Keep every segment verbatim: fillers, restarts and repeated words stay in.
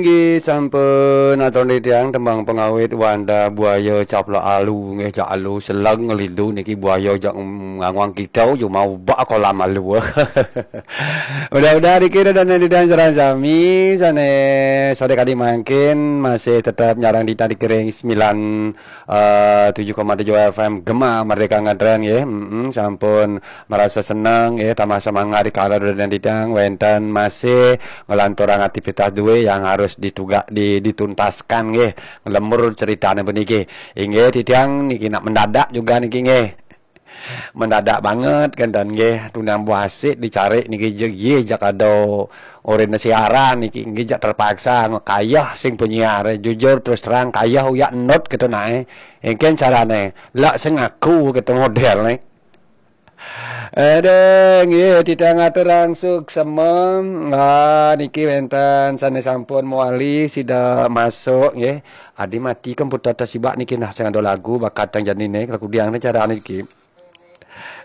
Inggih sampun atur titiang tembang pengawit Wanda Buaya Caplak Alu nggih, jak alu seleng ngelidu niki buaya jak nganguang kita cuma ubak kolam alu. Mudah-mudahan niki dan titiang sareng sami sane sore kadi mangkin masih tetap nyarang titiang di kering sembilan eh, tujuh koma tujuh F M Gema Merdeka Ngetren nggih. Mm-mm, sampun merasa senang nggih, tambah semangat di kala dan titiang wenten masih ngelanturang aktivitas duwe yang harus ditugak di, dituntaskan nggih. Lembur ceritane puniki. Inggih titiang niki nak mendadak juga niki nggih. Mendadak banget kan dan nggih, tunang buasik dicari niki je ye jak ada orene siaran niki nggih, jak terpaksa kayah sing penyiar, jujur terus terang kayah uyak enut gitu nae. Engken carane lak sing aku gitu model ne. Aduh, nggih, titiang aturang suksema. Ah, niki wenten sane sampun mewali sida masuk nggih. Adi mati komputer tasibak niki nah sing ada lagu bakat tang janine, kalau kudiang ne cara niki.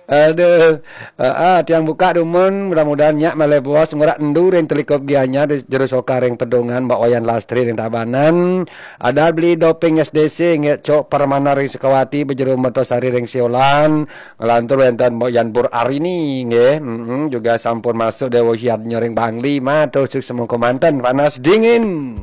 Aduh, ah, ah, tiang buka dumun, mudah-mudahan nyak malih bos ngurak endu ring telikup gianyar di jero soka ring pedungan Mbak Wayan Lastri ring Tabanan. Ada beli doping S D C nggih, Cok Permana ring Sukawati, Bejero Mertosari ring Siolan, ngelantur wenten Mbok Yan Pur Arini nggih. Mm-mm, juga sampun masuk Dewa Hiat nyoring Bangli, matur suksema kemanten panas dingin.